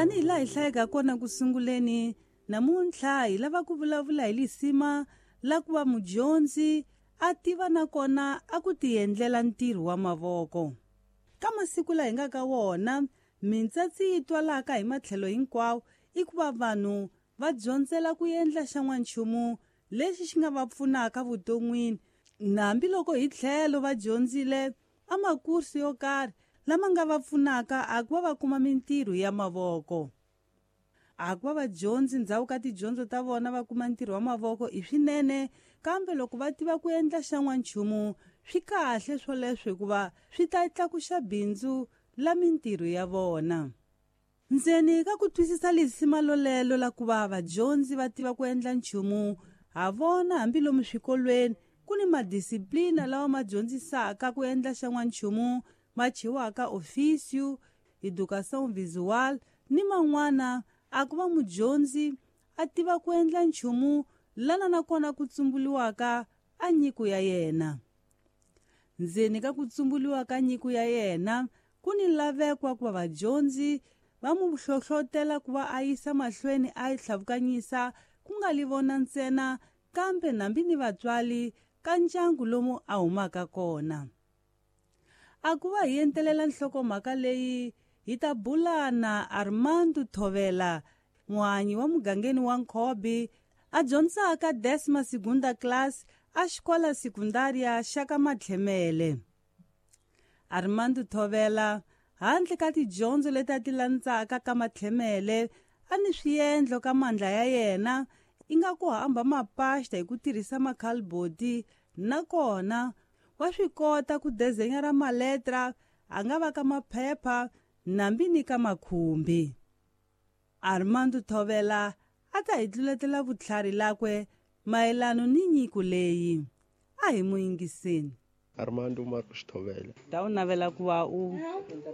Tanihi laha hi hlayeke kona ku sunguleni, namuntlha hi lava ku vulavula hi lisima la ku va mudyondzi a tiva nakona a ku tiendlela ntirho wa mavoko. Ka masiku laha hi nga ka wona, mintsatsi yi twalaka hi matlhelo hinkwawo i ku va vanhu va dyondzela ku endla xan'wanchumu lexi xi nga va pfunaka vuton'wini, hambiloko hi tlhelo va dyondzile a makursi yo karhi lama nga va pfunaka a ku va va kuma mintirho ya mavoko. A ku va vadyondzi ndzhaku ka tidyondzo ta vona va kuma ntirho wa mavoko i swinene, kambe loko va tiva ku endla xan'wanchumu swi kahle swoleswo hikuva swi ta tlakuxa bindzu la mintirho ya vona. Ndzeni ka ku twisisa lisima lolelo la ku va vadyondzi va tiva ku endla nchumu, ha vona hambi lomu swikolweni ku ni madisiplina lawa ma dyondzisaka ku endla xan'wanchumu ma chiwaka ofício, educação visual ni man'wana a ku va mudyondzi a tiva ku endla nchumu lana nakona ku tsumbuliwaka a nyiko ya yena. Ndzeni ka ku tsumbuliwa ka nyiko ya yena ku ni laveko ku va vadyondzi va mu hlohlotela ku va a yisa mahlweni a yi tlhavukanyisa ku nga li vona ntsena kambe nambi ni vatswari ka ndyangu lomu a humaka kona. A ku va hi entelela nhlokomhaka leyi hi ta bula na Armando Thovela, muhanyi wa mugangeni wa Nkhobi, a dyondzaka décima segunda classe a xikola sekundária xa ka Matlhemele. Armando Thovela, handle ka tidyondzo leti a ti landzaka ka Matlhemele, a ni swiendlo ka mandla ya yena i nga ku hamba mapasta hi ku tirhisa makhaliboti, nakona wa swi kota ku dezenyara maletra a nga va ka maphepha nambi ni ka makhumbi. Armando Thovela a ta hi tluletela vutlhari lakwe mayelano ni nyiko leyi. A hi mu yingiseni. Armando Marcos Thovela. Ta u navela ku va u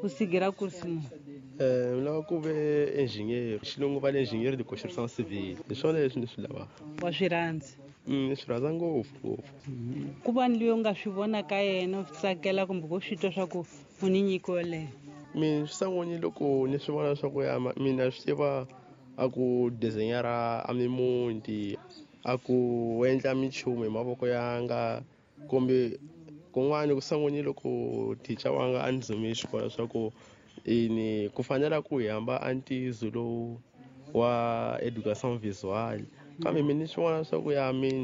sigira kursi mu? Ni lava ku ve engineer. Xilungu va le engineer de construction civile. Hi swona leswi ni swi lavaka. Wa swi rhandza? Ni swi rhandza ngopfu ngopfu. Ku va ni loyi u nga swi vona ka yena u swi tsakela kumbe ku swi twa swa ku u ni nyiko yoleyo? Mina swi sangoni loko ni swi vona swa ku ya mina swi tiva a ku designer a mimuti, a ku endla minchumu hi mavoko yanga, kumbe kun'wani ku sangoni loko teacher wanga a ni dzumile xikolo swa ku ini ku fanela ku hi hamba a ntiyiso lowu wa education visual, kambe mina ni swi vona swa ku ya mina